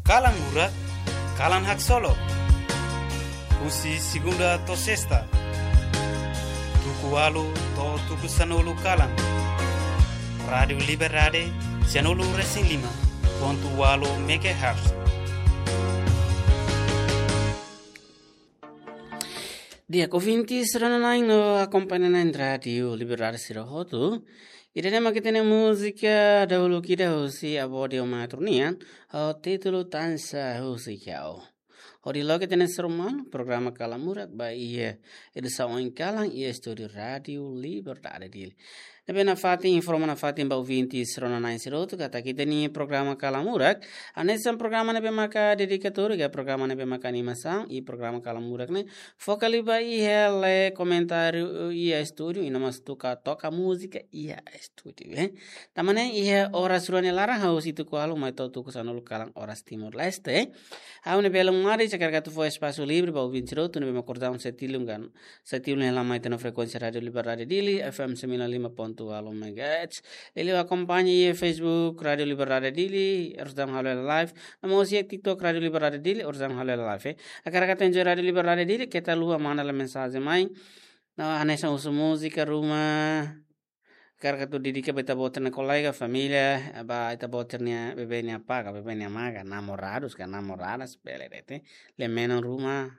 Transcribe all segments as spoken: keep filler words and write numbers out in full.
Kalan Murak, kalan haksolok. Husi segunda to'o sesta, tuku ualu to'o tuku sanulu kalan. Rádiu Liberdade, sanulu resin lima pontu ualu megahertz. Di'ak, ouvintes rona-na'in no akompaña-na'in Rádiu Liberdade sira hotu. Ida-ne'e mak ita-nia múzika dahuluk ida husi Avó Diomatru nian, ho títulu Tansa Husi Ha'u. Hodi loke ita-nia sermon, programa Kalan Murak ba iha edisaun oin kalan iha estúdiu Rádiu Liberdade Dili. Ne'ebé nafatin, informa nafatin ba ouvintes rona-na'in sira hotu katak ita-nia programa Kalan Murak hanesan programa ne'ebé maka dedikatóriu, ka programa ne'ebé maka animasaun, i programa Kalan Murak ne'e foka liu ba iha lee komentáriu iha estúdiu, i no mós toka, toka múzika iha estúdiu, eh. Tanba ne'e iha oras rua nia laran hahú husi tuku ualu mai to'o tuku sanulu kalan oras Timor-Leste. Ha'u ne'e Belun Mari, hakarak atu fó espasu livre ba ouvinte sira hotu ne'ebé mak kordau setiap liu kan setiap liu hela mai iha frekuénsia Rádiu Liberdade Dili, F M sembilan lima pontu ualu megahertz. Liuliu akompaña iha Facebook Rádiu Liberdade Dili, oras daudaun halo hela live. No mós iha TikTok Rádiu Liberdade Dili, oras daudaun halo hela live, eh. Hakarak atu enjoy Rádiu Liberdade Dili, keta haluha manda lai mensajen mai. No hanesan husu múzika ruma, hakarak atu dedika ba ita-boot nia kolega, família, ba ita-boot nia bebé nia apá ka bebé nia amá ka namoradus ka namoradas, bele de'it, eh. Lee menon ruma,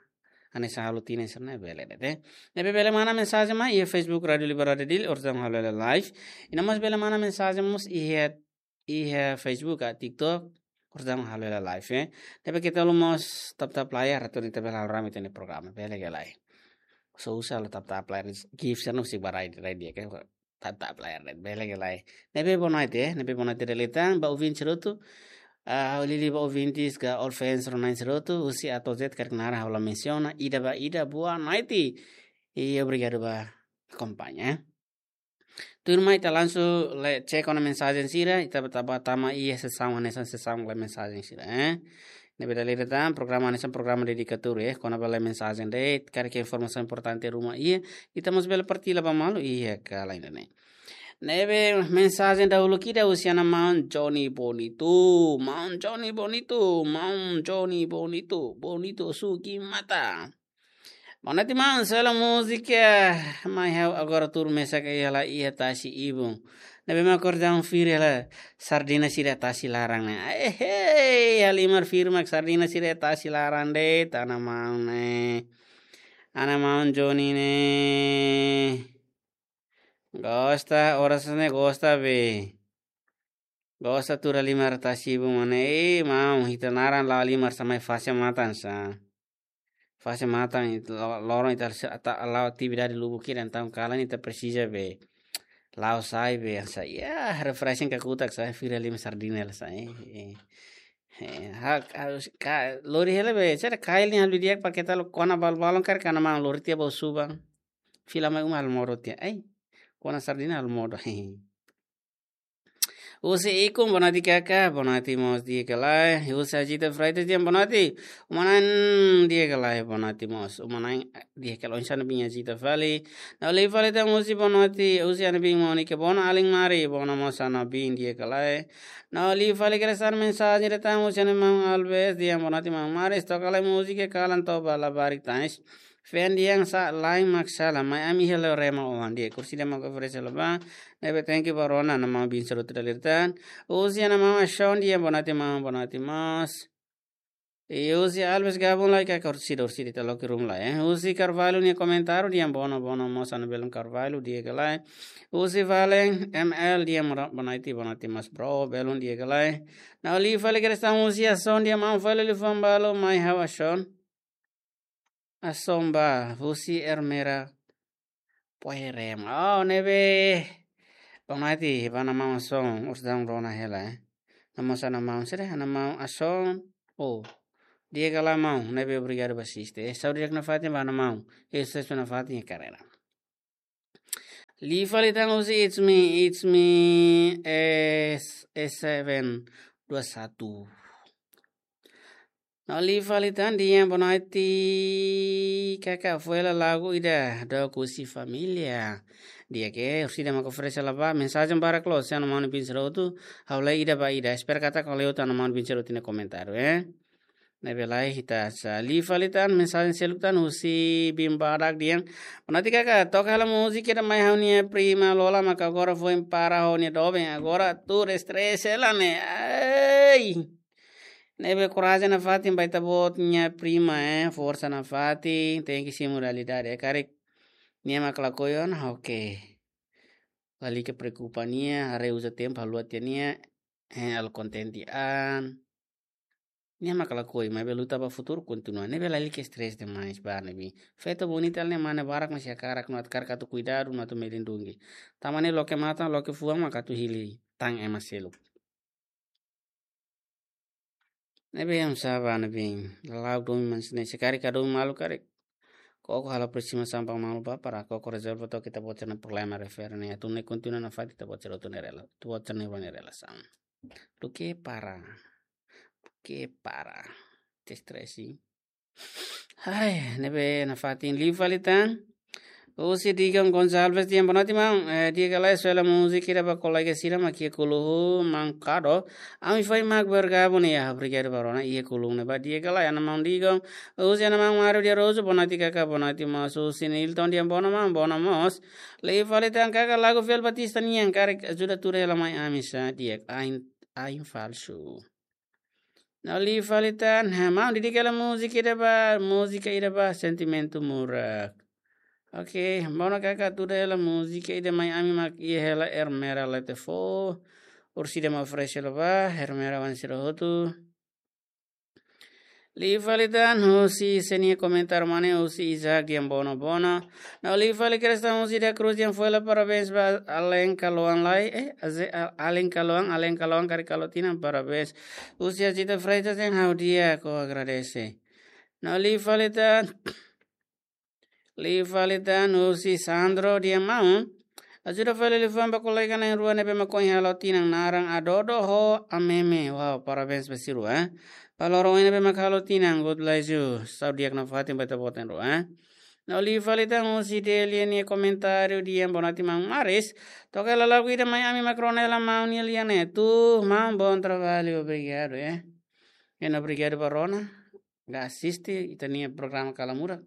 hanesan halo tinan sira-ne'e, bele de'it, eh. Ne'ebé bele manda mensajen mai iha Facebook Rádiu Liberdade Dili, oras daudaun halo hela live. I no mós bele manda mensajen mós iha, iha Facebook ka TikTok, oras daudaun halo hela live, eh. Ne'ebé keta haluha mós tap-tap layar atu ita bele halo rame ita-nia programa, bele ka lae. Só uza halo tap-tap layar, gift sira-ne'e husik ba rai, rai di'ak, eh. Tap-tap layar de'it, bele ka lae. Ne'ebé boa noite, eh. Ne'ebé boa noite dala ida tan ba ouvinte sira hotu. Ah, liuliu ba ouvintes ka all fans rona-na'in sira hotu, husi A to'o Z karik naran ha'u la mensiona, ida ba ida, boa noite. I obrigadu ba akompaña, eh. Tuirmai ita langsung lee, cek ona mensajen sira, ita ba tama, tama iha sesaun hanesan sesaun lee mensajen sira, eh. Ne'ebé dala ida tan, programa hanesan programa dedikatóriu, eh, kona-ba lee mensajen de'it, karik informasaun importante ruma iha, ita mós bele partilla ba malu iha kalan ida-ne'e. Ne'ebé mensajen dahuluk ida husi ana maun Johnny Bonito, maun Johnny Bonito, maun Johnny Bonito, bonito suki mata. Boa noite, maun. Sela múzika, mai ha'u agora tuur mesak iha lae, iha tasi ibun. Ne'ebé mak kordau fir hela sardina sira tasi laran ne'e. Ehei, halimar firma sardina sira tasi laran de'it, ana maun ne'e. Ana maun Johnny ne'e. Gosta, oras ne'e gosta be. Gosta tuur halimar tasi ibun mak ne'e, eh, maun, ita naran la'o halimar sá mai fase matan sá. Fase matan ita lo-, loron ita se-, ita la'o atividade lubuk ida, entaun kalan ita presiza be la'o sai be sá. Ya, refreshing kakutak sá, fira halimar sardina sá, eh, eh. Eh, ha, ha, ka, lori hela be, sira kail nia halo di'ak pa keta lo kona balbalon karik ana maun lori tiha ba suban. Fila mai uma halo modo tiha. Ai, kona sardina halo modo. Husi Ikun, boa noite, Kaka. Boa noite, mós di'ak ka lae. Husi Ajita Freitas, di'ak, boa noite. Uma-na'in di'ak ka lae, boa noite, mós. Uma-na'in di'ak ka lae, oinsá Ana Bin, Ajita fali. Na'in-rua fali tan husi, boa noite. Husi Ana Bin, Monica, boa noite, alin Mari, boa noite, mós Ana Bin, di'ak ka lae. Na'in-rua fali keresan mensajen ida tan husi Ana Maun Alves, di'ak, boa noite, Maun Mari. Toka lai múzika kalan to'o ba labarik tan. Fan di'ak sá, lain mak sala, mai ami hela rema oan di'ak, kursi di'ak mak oferese hela ba, ne'ebé thank you ba rona, Ana Maun Bin sira hotu dala ida tan. Husi Ana Maun Ashon di'ak, boa noite maun, boa noite mós. I husi Alves Gabun lai ka kursi, kursi ita loke ruma lai, eh. Husi Carvalho nia komentáriu di'ak, boa noite, boa noite mós Ana Belun Carvalho, di'ak ka lae. Husi Valen M L di'ak, boa noite, boa noite mós bro, Belun, di'ak ka lae. Na'in-rua fali keresan husi Ashon di'ak, maun fali liafuan balu mai ha'u Ashon. Ashon ba, husi Ermera Poerema. Oh, ne'ebé. Boa noite, ba Ana Maun Ashon, oras daudaun rona hela, eh. Ana Maun sá, Ana Maun sira, Ana Maun Ashon. Oh, di'ak ka lae maun, ne'ebé obrigadu ba asiste. Eh, saúde di'ak nafatin ba Ana Maun. Eh, susesu nafatin iha karreira. Liafuan ida tan husi It's Me, It's Me, S, S seven dua satu. No liu fali tan di'ak, boa noite. Kaka foin la lagu ida do kusi família. Di'ak, orsida mak oferese la ba mensajen barak loos, se no manu bin serotu, ha'u lee ida ba ida. Espera katak ha'u lee hotu no manu bin serotu nia komentáriu, eh. Ne'ebé lae ita sa liu fali tan mensajen seluk tan husi bin badak di'ak. Boa noite kaka, toka hela múzika ida mai ha'u-nia prima Lola maka agora foin para ho nia doben, agora tuur estrese hela ne'e. Ai. Ne'ebé korajen nafatin ba ita-boot nia prima, eh, forsa nafatin, tenke simu realidade, eh, karik nia mak lakohi ona, oke. Lalika preokupa nia, haree uza tempu, haluha tiha nia, eh, halo kontente an. Nia mak lakohi, maibé luta ba futuru kontinua. Ne'ebé lalika estrese demais ba ne'ebé. Feto bonita ne'e mane barak masi hakarak, no atu karik atu kuidadu, no atu melindungi. Tanba ne'e loke matan, loke fuan mak atu hili tan ema seluk. Ne'ebé hanesan ba ne'ebé. Lalau domin mas ne'e se karik ka domin malu karik. Koko halo aproximasaun ba malu ba para koko rezolve to'o ita-boot sira-nia problema refere ne'e. Atu ne'e kontinua nafatin ita-boot sira hotu ne'e rela. Ita-boot sira-nia relasaun. Duké para. Duké para. Te estresi. Ai, ne'ebé nafatin liu fali tan. Husi Digon Gonçalves di'ak, boa noite maun. Eh, di'ak ka lae, soe hela múzika ida ba kolega sira mak iha Kuluhu, maun Kado. Ami foin mak bergabung ne'e, ah, obrigadu ba rona, iha Kuluhu ne'ebá. Di'ak ka lae, ana maun Digon. Husi ana maun Mario de Araújo, boa noite kaka, boa noite mós. Husi Nilton di'ak, boa noite maun, boa noite mós. Liu fali tan kaka, lagu Fiel Batista nian, karik ajuda tuur hela mai ami sa, di'ak, ain, ain falsu. No liu fali tan, ha, maun, dedika hela múzika ida ba, múzika ida ba, Sentimentu Murak. Oke, maun kaka tuur hela múzika ida mai ami mak iha hela Ermera Letefo. Orsida mak oferese hela ba, Ermera wan sira hotu. Liu fali tan, husi sé nia komentáriu mane, husi Isaac di'ak, boa noite, boa noite. No liu fali Krista husi Da Cruz di'ak, foin la parabéns ba alin kaloan lai, eh, aze-, a-, alin kaloan, alin kaloan karik kalo tinan, parabéns. Husi Azita Freitas di'ak, ha'u di'ak, ha'u agradese. No liu fali tan, liu fali tan husi Sandro di'ak, maun. Ajuda fali liafuan ba kolega na'in-rua ne'ebé mak ohin halo tinan, naran Adodo ho Ameme. Wow, parabéns ba sira, eh. Ba loron oin ne'ebé mak halo tinan, God bless you. Saúde di'ak nafatin ba ita-boot na'in-rua, eh. No liu fali tan husi Delia nia komentáriu di'ak, boa noite maun Maris. Toka hela lagu ida mai ami mak rona hela maun nia lian ne'e. Tuur, maun, bom trabalho, obrigadu, eh. Ena obrigadu ba rona. Ka asiste ita-nia programa Kala Murak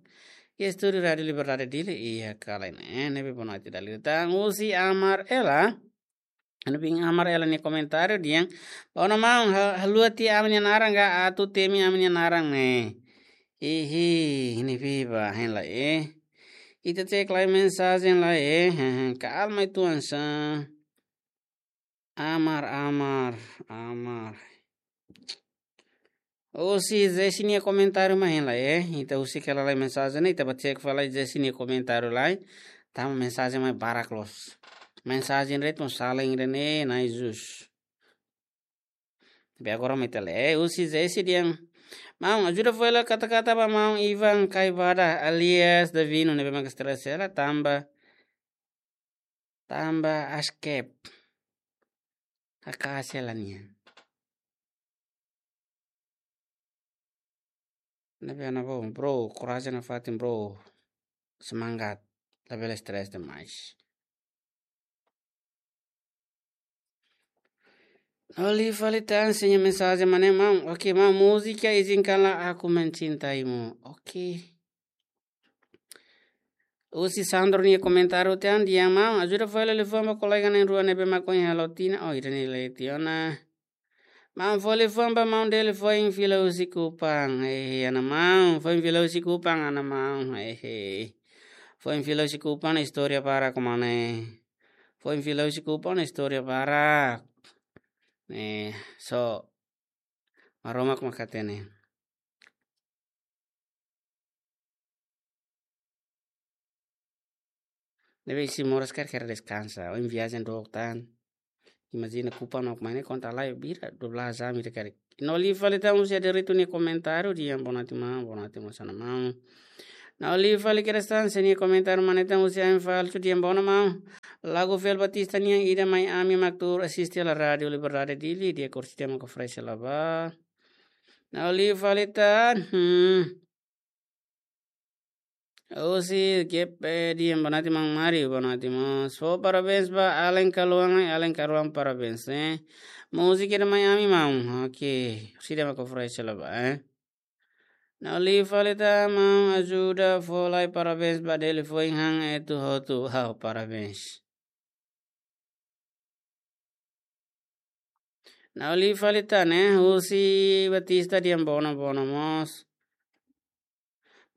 iha estúdiu Rádiu Liberdade Dili, iha Kala ne'e, eh, ne'ebé boa noite dala ida tan husi Amar Ela. Anu bin Amar Ela nia komentáriu di'ak. Boa noite maun, ha-, haluha tiha ami-nia naran ka atu temi ami-nia naran ne'e. Ihi, ne'ebé ba, hein lai, eh. Ita cek lai mensajen lai, eh. He, he, kalma uitoan sa. Amar, Amar, Amar. Husi Jesse nia komentáriu mak hein lai, eh. Ita husik hela lai mensajen, ita ba cek fali Jesse nia komentáriu lai. Tanba mensajen mak barak loos. Mensajen ritmo saling rene, nai jus. Be agora mai tele, eh, husi Jesse di'ak. Maun, ajuda foin la kata-kata ba maun Ivan Kaibada alias Davino ne'ebé mak estrese hela tanba tanba askep. Kakase la nian. Ne'ebé ana bom, bro, korajen nafatin, bro. Semangat. Labele estrese demais. No liu fali tan sé nia mensajen mane, maun. Oke, maun, múzika Izinkanlah Aku Mencintaimu. Oke. Husi Sandro nia komentáriu tan di'ak, maun, ajuda foin la liafuan ba kolega na'in-rua ne'ebé mak ohin halo tinan, oh, ida-ne'e lee tiha ona. Maun, fó liafuan ba maun Deli, foin fila husi Kupang. Eh, ana maun, foin fila husi Kupang, ana maun. Eh, foin fila husi Kupang, istória barak mane. Foin fila husi Kupang, istória barak. Eh, so, Maromak mak hatene. Ne'ebé isi moras karik deskansa. Ohin viajen dook tan. Imajina Kupang mak mane konta lai bira dua belas jam ida karik. No liu fali tan husi Aderitu nia komentáriu di'ak, boa noite maun, boa noite mós ana maun. No liu fali Krista nia komentáriu mane tan husi Ain Falsu di'ak, boa noite maun. Lagu Fiel Batista nian ida mai ami mak tuur asiste hela Rádiu Liberdade Dili, di'ak, orsida mak oferese hela ba. Nau li fali tan. Hmm. Husi G P D yang bonati mang mari, bonati mós. Fó parabéns ba Alen Kaluang, eh, Alen Kaluang parabéns, eh. Múzika ida mai ami maun. Oke, sida maka fresh la ba, eh. Nau li fali tan maun ajuda fó lai parabéns ba Deli Foin han etu hotu. Wow, parabéns. Nau li fali tan ne'e, husi Batista Diambono, bono mós.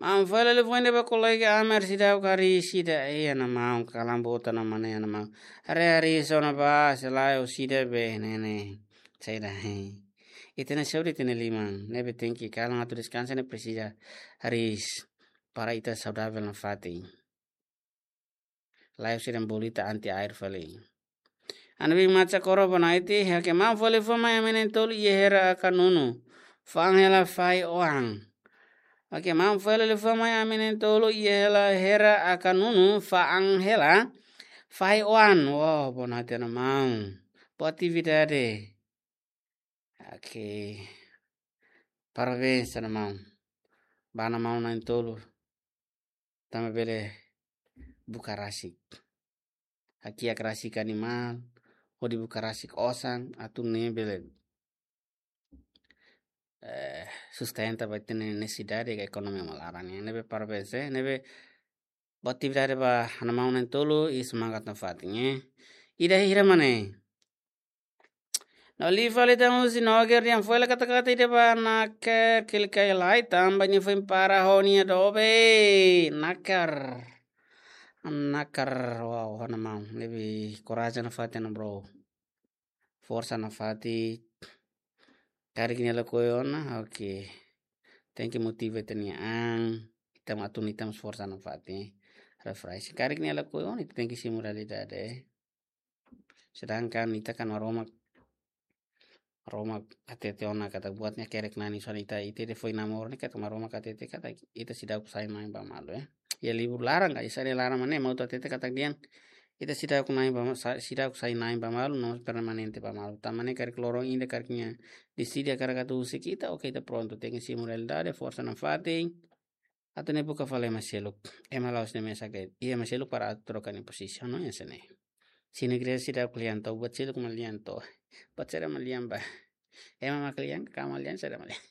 Maun fali liafuan ida ba kolega Amer sida kari sida, eh, ana maun kalan bota na mana ana maun. Are hari sona ba selae o sida be nene. Saida, eh. Ita-nia saúde ita-nia liman. Ne'ebé tenke kalan atu deskansa ne'e presiza haris para ita saudavel nafatin. Lae sira bolita anti air fali. Ana bi maca koro bonaiti, oke maun fali fó mai ami na'in-tolu iha hera aka nunu. Fa'an hela fahi oan. Oke maun fali fó mai ami na'in-tolu iha hela hera aka nunu, fa'an hela fahi oan. Wow, bonaiti ana maun. Boa atividade. Oke. Parabéns, ana maun. Ba ana maun na'in-tolu. Tanba bele buka rasik. Hakiak rasik animál, hodi buka rasik osan, atu nune'e bele, eh, sustenta ba ita-nia nesesidade ka ekonomia mak laran, eh. Ne'ebé parabéns, eh. Ne'ebé boa atividade ba ana maun na'in-tolu, i semangat nafatin, eh. Ida hira mana, eh. Nau li fali tan husi Noger yang fó hela kata-kata ida ba Naker kilikai lai tanba nia foin para ho nia dobe. Naker. Naker, wow, ana maun. Lebih korajen nafatin, bro. Forsa nafatin. Karik nia lakohi ona, oke. Tenke motiva ita-nia an. Ita mak atu ita mós forsa nafatin. Refresh. Karik nia lakohi ona, ita tenke simu realidade. Sedangkan ita kan Maromak, Maromak hatete ona katak buat ne'e hakerek nani, so ita, ita depois namoro ne'e katak Maromak hatete katak ita seidauk sai mai ba malu, eh. Iha livru laran ka, iha sira laran mak ne'e mak atu hatete katak dehan ita seidauk nai ba ma-, sa-, seidauk sai nai ba malu, no permanente ba malu. Tanba ne'e karik loron ida karik nia deside hakarak atu husik ita, oke, ita prontu. Tenke simu realidade, forsa nafatin. Atu nune'e buka fali ema seluk. Ema la'ós ne'e mesak de'it. Iha ema seluk para atu troka nia pozisaun, no, hanesan ne'e. Se ne'e igreja seidauk lian to'o, buat seluk mak lian to'o. Buat saida mak lian ba. Ema mak lian, ka ema mak lian, saida mak lian.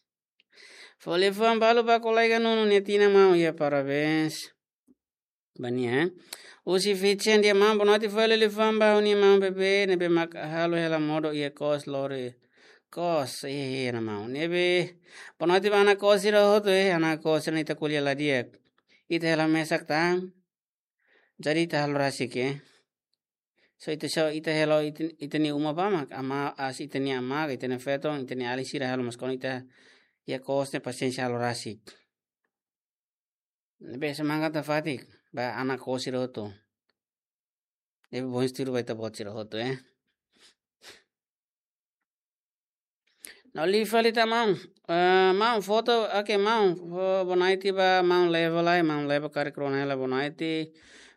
Fó liafuan balu ba kolega Nunu nia tinan maun, iha parabéns. Ba nia, eh. Husi Fitchen dehan maun, bonoite fó hela liafuan ba ha'u-nia maun bebé, ne'ebé mak halo hela modo iha kos lori. Kos, eh, eh, ana maun. Ne'ebé, bonoite ba ana kos sira hotu, eh, ana kos sira ne'e ita ko'alia la di'ak. Ita hela mesak tan. Jadi ita halo rasik, eh. So ita so ita hela ita, ita-nia uma ba mak, ama, as ita-nia ama, ita-nia feton, ita-nia alin sira halo mas kon ita iha kos ne'e pasiénsia halo rasik. Ne'ebé semangat nafatin ba ana kos sira hotu. Ne'ebé bom estilo ba ita-boot sira hotu, eh. Nau li fali tan maun. Eh, maun foto, oke, maun. Fó bonoite ba maun Leva lai, maun Leva karik rona hela bonoite.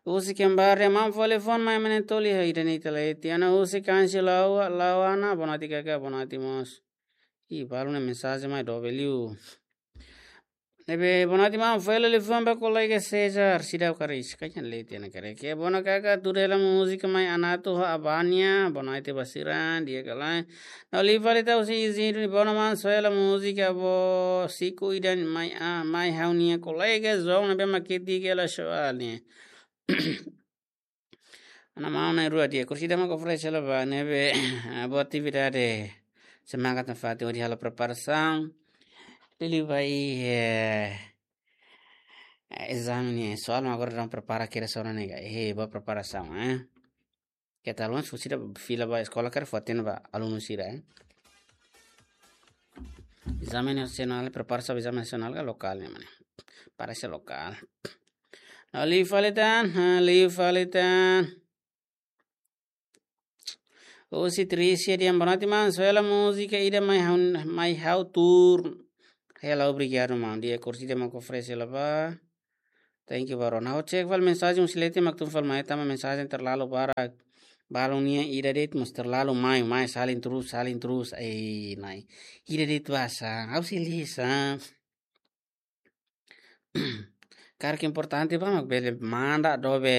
Husi Kembar dehan maun fó liafuan mai ami na'in-tolu iha ida-ne'e ita leti. Ana husi Kansi Lawa, Lawana, bonoite kaka, bonoite mós. Ih, balu ne'e mensajen mai dobe liu. Ne'ebé bonoite maun fó hela liafuan ba kolega Cesar, seidauk karik, kajan leti ana karik. Ke bona kaka tuur hela múzika mai Anato ho Abania, bonoite ba sira, di'ak ka lae. Nau li fali tan husi Isidro, bona maun fó hela múzika bo siku ida mai, ah, mai ha'u-nia kolega João ne'ebé mak ketik hela soal ne'e. Ana maun na'in-rua di'ak, kursi ida mak oferese hela ba ne'ebé, ah, boa atividade. Semangat nafatin hodi halo preparasaun. Liuliu ba iha, eh, eh, ezame ne'e, soal mak agora daudaun prepara kira sona nega. Eh, boa preparasaun, eh. Keta alun, se sira fila ba eskola karik fó hatene ba alunu sira, eh. Ezame nasionál, prepara sa ezame nasionál ka lokál ne'e, mana? Parese lokál. Nau li fali tan, ha, li fali tan. Husi Tricia dehan bonoite maun, fó hela múzika ida mai ha'u, mai ha'u tuur. Hela obrigadu maun, di'ak, kursi ida mak oferese hela ba. Thank you, bro. Nau check fali mensajen husi leti mak tun fali mai, tanba mensajen terlalu barak. Balun nian ida de'it mós terlalu mai, mai, salin terus, salin terus. Ei, nai. Ida de'it basa, ha'u sei lisan. Karik importante ba mak bele manda dobe